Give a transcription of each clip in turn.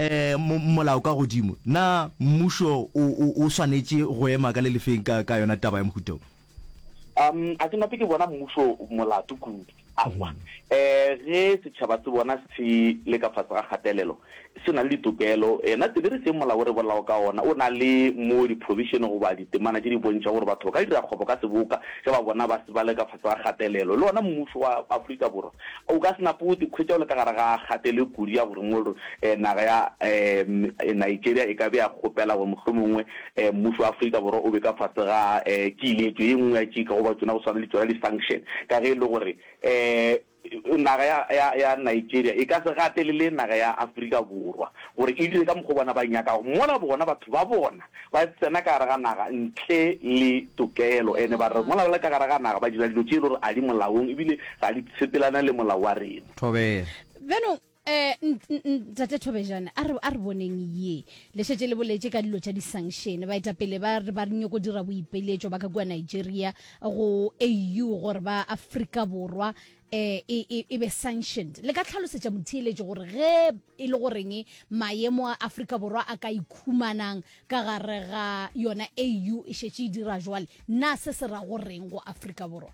Um molao ka godimo, na mmušo o, o, o swanetše go ema ka le lefeng ka, ka yona taba ya mohuta wo? Um a ke nape ke bona mmušo molato kudu. Aowa. Um ge setšhaba se bona se le ka fase ga kgatelelo, se na le ditokelo. Yena tsebe re seng molao o re bolelago ka ona, o na le mo di-provision goba ditemana tše di bontšhago gore batho ba ka dira kgwebo ka seboka ge ba bona ba se ba le ka fase ga kgatelelo. Le ona mmušo wa Afrika Borwa o ka se nape o ikhwetša o le ka gare ga kgatelo e kudu ya gore mo naga ya Nigeria e ka be ya kgopela gore mohlomongwe mmušo wa Afrika Borwa o be ka fase ga kiletšo ye nngwe ya tšika goba tšona go swana le tšona di-sanction ka ge e le gore naga ya, ya, ya Nigeria e ka se gatelele naga ya Afrika Borwa gore e dire ka mokgwa bona ba nyakago mola bona batho ba bona ba tsena ka gare ga naga ntle le tokelo ene ba re mola ba le ka gare ga naga ba dira dilo tše e le gore a di molaong ebile ga di sepelane le molao wa rena. Thobela. Bjanong, um ntate Thobejane, a re, a re boneng ye. Le šetše le boletše ka dilo tša di-sanction. Baetapele ba re ba nyoko dira boipiletšo ba ka kua Nigeria go AU gore ba Afrika Borwa eh, e, e, e be sanctioned. Le ka tlhalosetša motheeletši gore ge e le goreng maemo a Afrika Borwa a ka ikhumanang ka gare ga yona AU e šetše e dira jwale, na se se ra goreng go Afrika Borwa?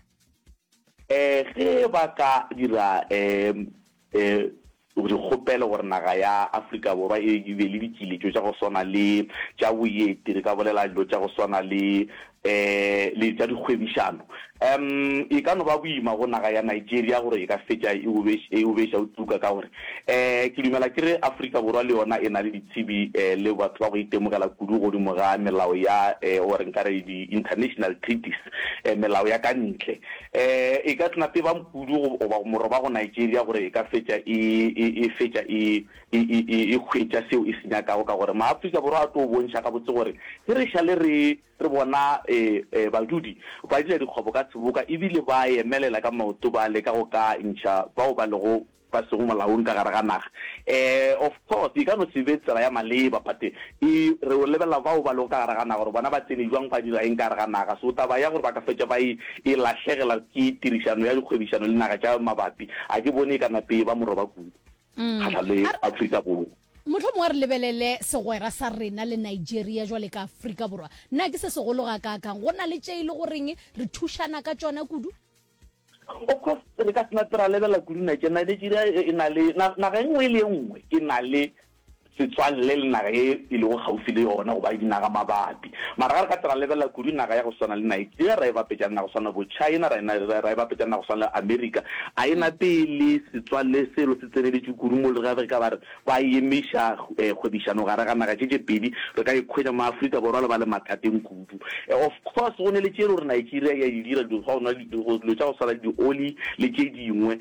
Eh, ge ba ka dira eh, eh, dikgopelo gore naga ya Afrika Borwa e be le dikiletšo tša go swana le tša boeti, re ka bolela dilo tša go swana le um le tša dikgwebišano. Um e ka no ba boima go naga ya Nigeria gore e ka fetša e e obeša o tuka ka gore um ke dumela ke re Afrika Borwa le yona e na le ditsebi um le batho ba go itemogela kudu godimo ga melao ya um or nka re di-international treaties, um melao ya ka ntle. E, e ka se nape ba kudu goba moroba go Nigeria gore e ka fetša e, e, e fetša e, e, e, e, e hwetša seo e se nyakago, ka gore Maafrika Borwa a tlo bontšha gabotse gore ge re šale re, re bona e, e, badudi ba dira dikgwebo ka seboka ebile ba emelela ka maoto ba leka go ka ntšha bao ba lego ba sego molaong ka gare ga naga. Um of course e ka no se be tsela ya maleba but e re o lebelela bao ba lego ka gare ga naga gore bona ba tsene jwang ba dira eng ka gare ga naga. So taba ya gore ba ka fetša ba e e lahlegela ke tirišano ya dikgwebišano le naga tša mabapi a ke bone e ka nape e ba moroba kudu kgahlanong le Afrika Borwa. Mohlomongwe a re lebelele segwera sa rena le Nigeria jwale ka Afrika Borwa. Na ke se segolo gakaakang? Go na le tše e le goreng re thušana ka tšona kudu? Of course re ka se nape ra lebelela kudu Nigeria. Nigeria e na le naga e nngwe le e nngwe e na le setswalle le naga e e lego kgauswi le yona goba dinaga mabapi. Mara ga re ka tla ra lebelela kudu naga ya go swana le Nigeria ra e bapetša le naga go swana le bo China ra e ra e bapetša le naga go swana le America, a e nape e le setswalle selo se tseneletše kudu mo le ge re ka ba re ba emiša kgwebišano gare ga naga tše tše pedi, re ka ikhwetša mo Afrika Borwa le ba le mathateng kudu. Of course go ne le tše e le gore Nigeria e a di dira, dilo tša go swana le dioli le tše dingwe,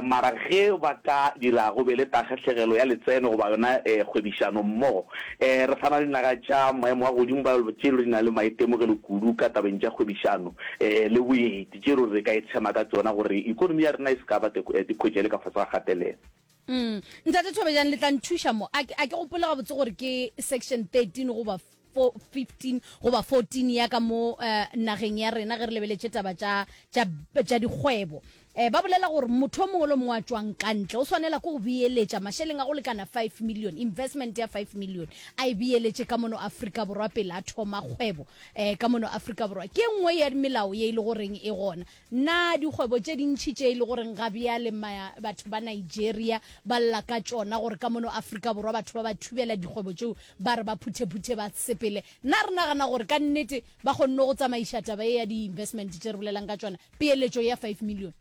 mara ge ba ka dira go be le tahlegelo ya letseno goba yona kgwebišano mmogo, re sa na le dinaga tša maemo a godimo ba tše e le gore di na le maitemogelo kudu ka tabeng tša kgwebišano le boeti, tše e le gore re ka itshema ka tšona gore ikonomi ya rena e se ka ba ikhwetša e le ka fase ga kgatelelo. Mm. Ntate Thobejane le tla nthuša mo. A ke a ke gopole gabotse gore ke section 13 goba 15 goba 14 ya ka mo uh, nageng ya rena ge re lebeletše taba tša tša tša dikgwebo. Eh, ba bolela gore motho o mongwe le mongwe a tšwang ka ntle o swanela ke go beeletša mašeleng a go lekana 5 million, investment ya 5 million a e beeletše ka mono Afrika Borwa pele a thoma kgwebo eh, ka mono Afrika Borwa. Ke e nngwe ya melao ye e le goreng e gona. Na dikgwebo tše dintši tše e le goreng ga bjale batho ba Nigeria ba lla ka tšona gore ka mono Afrika Borwa batho ba ba thubela dikgwebo tšeo ba re ba phuthephuthe ba sepele, na re nagana gore ka nnete ba kgonne go tsamaiša taba ye ya di-investment tše re bolelang ka tšona, peeletšo ya five million?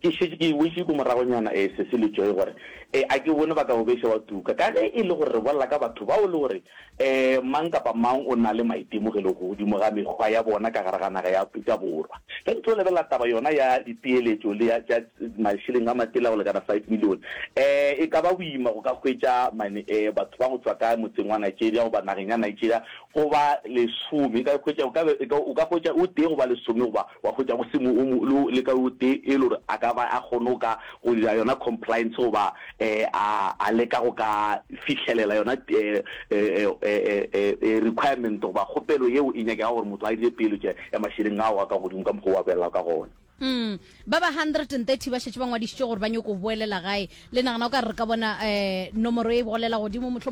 Ke šetše ke boetše ko moragonyana e Sesi le Joy gore e a ke bone ba ka bobeša wa tuka ka ge e le gore re bolela ka batho bao le gore e mang kapa mang o na le maitemogelo godimo ga mekgwa ya bona ka gare ga naga ya Afrika Borwa. Ge re tlo lebelela taba yona ya dipeeletšo le ya tša mašeleng a matele a go lekana five million e e ka ba boima go ka hwetša mane e batho ba go tšwa ka motseng wa Nigeria goba nageng ya Nigeria go ba lesome e ka hwetša o ka be o ka hwetša o tee goba lesome goba wa hwetša go se mo o mo le ka o tee e le gore a ka ba a kgone go ka go dira yona compliance goba um a a leka go ka fihlelela yona um requirement goba kgopelo yeo e nyakegago gore motho a dire peeletšo ya mašeleng ao a ka godimo ka mokgwa o a bolelago ka gona. Mm. Ba ba 130 ba šetše ba ngwadišitše gore ba nyoko boelela gae. Le nagana o ka re re ka bona um nomoro e bolela godimo mohlomongwe?